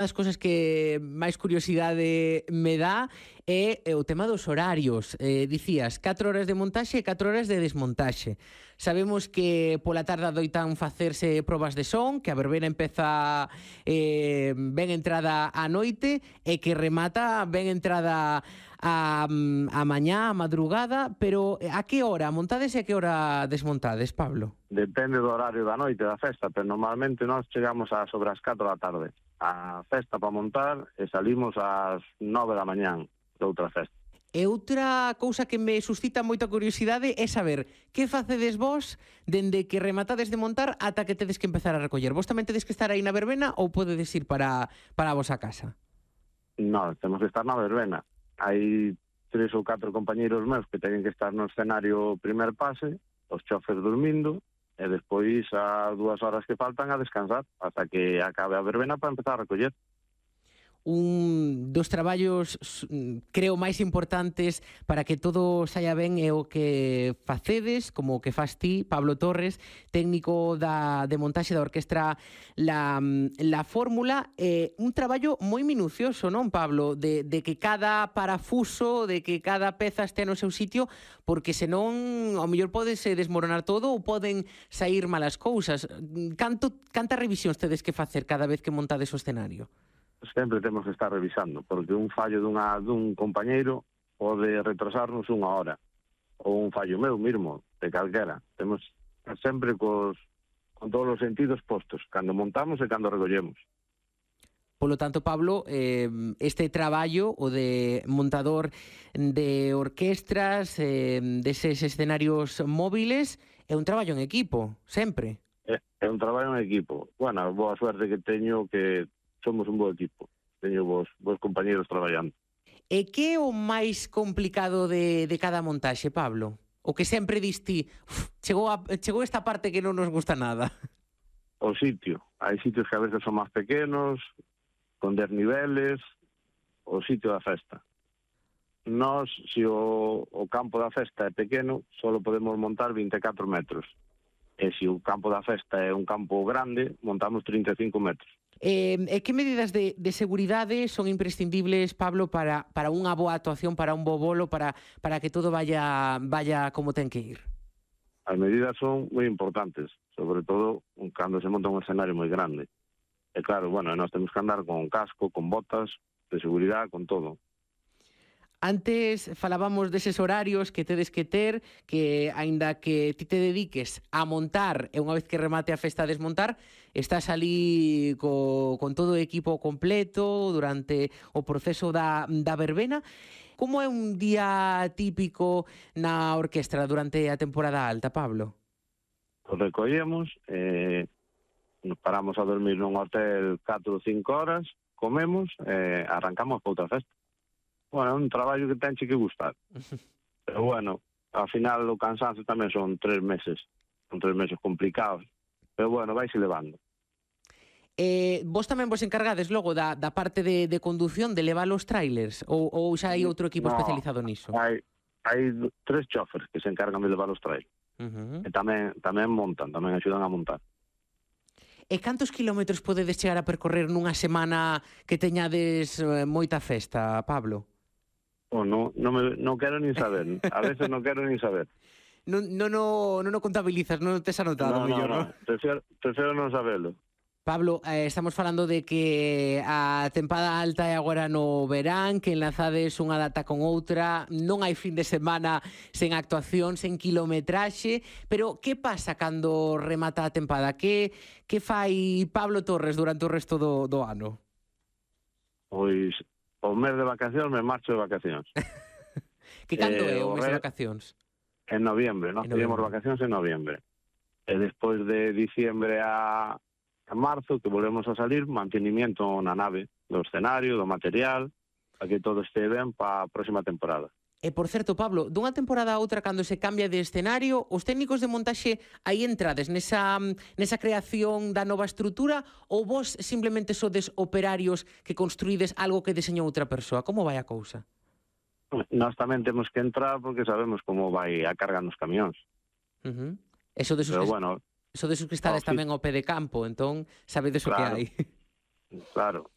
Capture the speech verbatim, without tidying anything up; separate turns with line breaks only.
das cousas que máis curiosidade me dá é o tema dos horarios. Eh, dicías, catro horas de montaxe e catro horas de desmontaxe. Sabemos que pola tarde adoitan facerse probas de son, que a verbena empeza eh, ben entrada á noite e que remata ben entrada a, a mañá, a madrugada, pero a que hora montades e a que hora desmontades, Pablo?
Depende do horario da noite da festa, pero normalmente nós chegamos a sobre as catro da tarde a festa para montar e salimos ás nove da mañán de outra festa.
E outra cousa que me suscita moita curiosidade é saber que facedes vos dende que rematades de montar ata que tedes que empezar a recoller. Vos tamén tedes que estar aí na verbena ou podedes ir para, para a vosa casa?
Non, temos que estar na verbena. Hai tres ou catro compañeiros meus que teñen que estar no escenario primer pase, os chofers dormindo, e despois as dúas horas que faltan a descansar hasta que acabe a verbena para empezar a recoller.
Un dos traballos, creo, máis importantes para que todo saia ben é o que facedes, como o que fas ti, Pablo Torres, técnico da, de montaxe da orquestra La, la Fórmula. Eh, un traballo moi minucioso, non, Pablo? De, de que cada parafuso, de que cada peza este no seu sitio, porque senón ao mellor podese desmoronar todo ou poden sair malas cousas. Canto, canta revisións tedes que facer cada vez que montades o escenario?
Sempre temos que estar revisando, porque un fallo dunha, dun compañeiro pode retrasarnos unha hora, ou un fallo meu mesmo, de calquera. Temos sempre cos, con todos os sentidos postos, cando montamos e cando recollemos.
Polo tanto, Pablo, eh, este traballo, o de montador de orquestras, eh, deses escenarios móviles, é un traballo en equipo, sempre.
É, é un traballo en equipo. Bueno, boa suerte que teño que somos un bo equipo, teño vos, vos compañeros traballando.
E que é o máis complicado de, de cada montaxe, Pablo? O que sempre diste, chegou, a, chegou esta parte que non nos gusta nada.
O sitio. Hai sitios que a veces son máis pequenos, con desniveles, o sitio da festa. Nós, se o, o campo da festa é pequeno, só podemos montar vinte e catro metros. E se o campo da festa é un campo grande, montamos trinta e cinco metros.
Eh, e que medidas de, de seguridade son imprescindibles, Pablo, para, para unha boa actuación, para un bo bolo, para, para que todo vaya, vaya como ten que ir?
As medidas son moi importantes, sobre todo cando se monta un escenario moi grande. E claro, bueno, nós temos que andar con casco, con botas de seguridade, con todo.
Antes falábamos deses horarios que tedes que ter, que aínda que ti te dediques a montar e unha vez que remate a festa a desmontar, estás ali co, con todo o equipo completo durante o proceso da, da verbena. Como é un día típico na orquestra durante a temporada alta, Pablo?
Os recollemos, eh, nos paramos a dormir nun hotel catro ou cinco horas, comemos e eh, arrancamos para outra festa. Bueno, é un traballo que tenche que gustar. Pero bueno, ao final o cansancio tamén son tres meses. Son tres meses complicados. Pero bueno, vaise levando.
Eh, vos tamén vos encargades logo da, da parte de, de condución, de levar os trailers? Ou, ou xa hai outro equipo
no,
especializado niso?
Hai, hai tres chofers que se encargan de levar os trailers. Uh-huh. E tamén, tamén montan, tamén axudan a montar.
E cantos kilómetros podedes chegar a percorrer nunha semana que teñades eh, moita festa, Pablo?
Oh, no, no, me, no quero nin saber. A veces non quero nin saber.
Non no, no, no, no contabilizas, non tes anotado,
no,
mellor,
no,
non?
No. Prefiero, prefiero non sabelo.
Pablo, eh, estamos falando de que a tempada alta é agora no verán, que enlazades unha data con outra, non hai fin de semana sen actuación, sen kilometraxe, pero que pasa cando remata a tempada? Que, que fai Pablo Torres durante o resto do, do ano?
Pois o mes de vacacións me marcho de vacacións.
Que cando eh, é o mes de vacacións?
En noviembre, nós pedimos vacacións en noviembre. E despois de diciembre a, a marzo, que volvemos a salir, mantenimiento na nave, do escenario, do material, para que todo este ben para a próxima temporada.
E, por certo, Pablo, dunha temporada a outra, cando se cambia de escenario, os técnicos de montaxe aí entrades nesa, nesa creación da nova estrutura ou vos simplemente sodes operarios que construídes algo que deseñou outra persoa? Como vai a cousa?
Nós tamén temos que entrar porque sabemos como vai a carga nos camións.
Uh-huh. E sodes os
Pero
que,
bueno,
sodes os que estades tamén ao pé de campo, entón sabedes o que hai.
Claro.